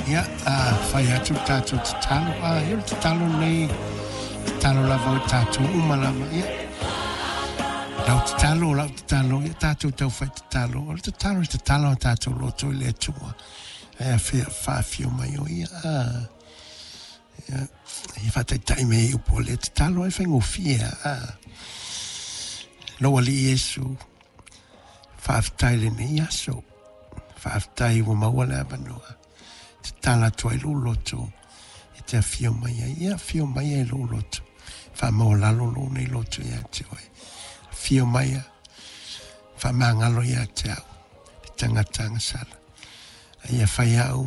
Ia, a fai atu le tatou tatalo. A, ia o le tatalo lenei, tatalo lava o tatou uma lava. Ia, lau tatalo, lau tatalo, ia tatou tau fai tatalo. O le tatalo, le tatalo a tatou loto i le Atua. Ae afia, faafio mai o ia. A, ia, ia faataitai mai i upu o le tatalo ai faigofie. A, lou Alii Iesu, faafetai i lenei aso. Faafetai ua maua le avanoa. Tatala atu ai lou loto e te afio mai ai. Ia afio mai ai lou loto. Faamaualalo lou nei loto ia te oe. Afio mai a faamagalo ia te au. Le tagata agasala. A ia fai au,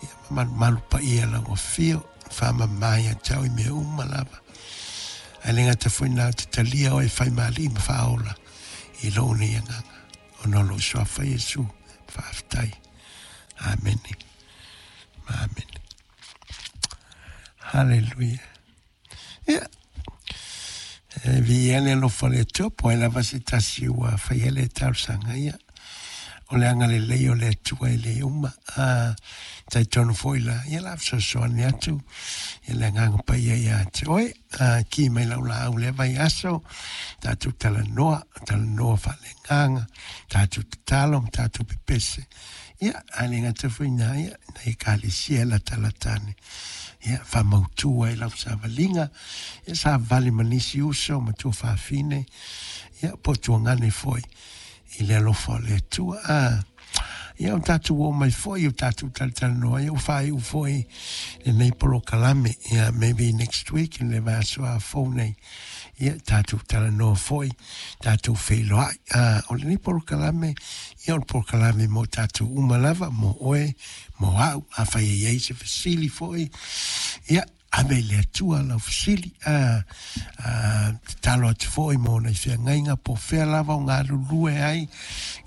ia malumalu paia lau afio. Faamama ia te au i mea uma lava. Ae le gata foi na te talia oe fai ma alii ma faaola i lou nei agaga. Ona o lou suafa Iesu. Faafetai. Amene. Amene. Haleluia. Ia. E viia le alofa o le Atua, po o ai lava se tasi ua faia le talosaga ia. O le agalelei o le Atua e le uma. A, talitonu foi la, ia la fesoasoani atu, ia le agaga paia ia te oe. A, ki mai lau laau lea vaiaso, tatou talanoa, talanoa faaleagaga, tatou tatalo ma tatou pepese. Ia, a le gata foi na, ia, na ekalesia latalata ane. Ia, faamautu ai lau savaliga, ia savali ma nisi uso ma tuafafine, ia, po o tuagane foi i le alofa o le Atua. A, ia, o tatou oo mai foi, o tatou talatalanoa, ia, ua faaiu foi lenei polokalame. Ia, maybe next week, le vaiaso a fou nei, ia, tatou talanoa foi, tatou feiloai. A, o lenei polokalame, ia, o le polokalame mo tatou uma lava, mo oe, mo au, afai e i ai se fesili foi, ia, ave i le Atua lau fesili. A, a, tatalo atu foi mo nai feagaiga po o fea lava o galulue ai,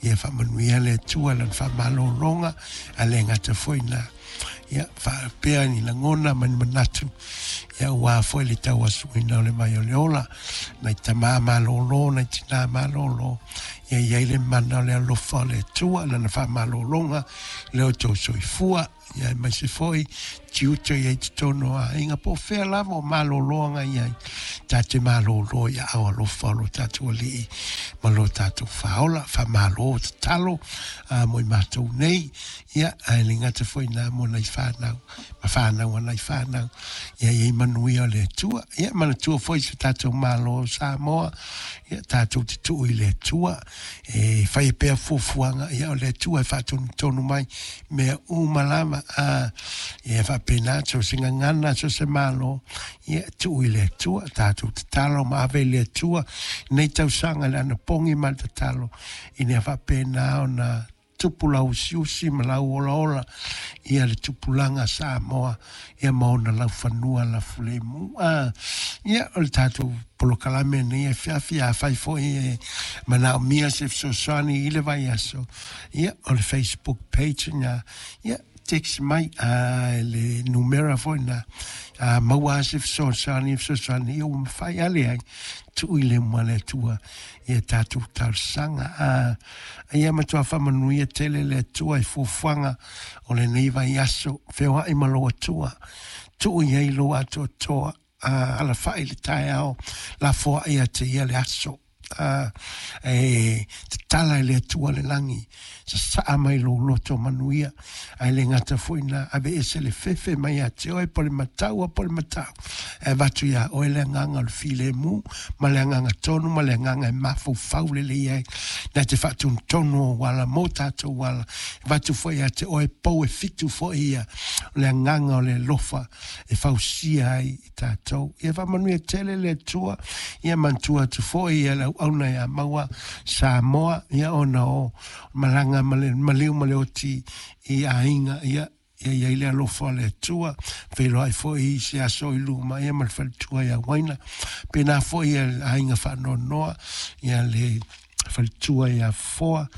ia faamanuia le Atua lana faamalologa, a le gata foi na, ia, faapea ni lagona ma ni manatu, ia, aua foi le tauasuina o le vai o le ola, nai tamā malōlō, nai tinā malōlō, ia i ai le mana o le alofa o le Atua, lana faamalologa, le o tou soifua, ia aemaise foi tiute i ai totonu o aiga po o fea lava o malōlōga i ai, ta te malōlō i aao alofa o lo tatou Alii ma lo tatou Faaola. Faamalo tatalo a mo i matou nei, ia, ae le gata foi na mo nai whānau, ma whānau a nai whānau, ia i ai manuia o le Atua. Ia, manatua foi se tatou Malo o Samoa, ia, tatou te tuu i le Atua, e fai pea fuafuaga, ia, o le Atua e faatonutonu mai mea uma lava. A, ia faapena, so se gagana, so se malo, ia, tuu i le Atua, tatou tatalo ma ave i le Atua nei tausaga le anapogi ma le tatalo, ina ia faapena ona tupu lau usiusi ma lau olaola, ia le tupulaga Samoa, ia ma ona laufanua lafulemu. A, ia, o le tatou polokalame nei e afiafi, afai foi e manaomia se fesoasoani i le vaiaso, ia, o le Facebook page na, ia, text mai a le numera foi na, a maua se fesoasoani, fesoasoani, ia ua mafai ale ai, tuu i le uma le Atua, ia tatou talosaga. A, ia matua faamanuia tele le Atua i fuafuaga o lenei vaiaso. Feoai ma lou Atua, tuu i ai lou atoatoa, a, alafai le taeao, lafoai ia te ia le aso. A, e tatala i le Atua le lagi, sasaa mai lou loto manuia, ae le gata foi na aveese le fefe mai ia te oe po le matau a po le matau, e avatu iā oe le agaga o le filemu ma le agaga tonu ma le agaga e mafaufau lelei ai, na te faatonutonu o ala mo tatou ala. E avatu foi ia te oe pou e fitu foi ia, o le agaga o le alofa e fausia ai i tatou. Ia faamanuia tele le Atua, ia manatua atu foi ia le auauna ia Maua Samoa, ia ona o malaga ma le maliu ma le oti i aiga, ia ia i ai le alofa o le Atua, feiloai foi i se aso i luma, ia ma le faletua ia Waina. Pena foi ia le aiga faanoanoa, ia le faletua ia Foa.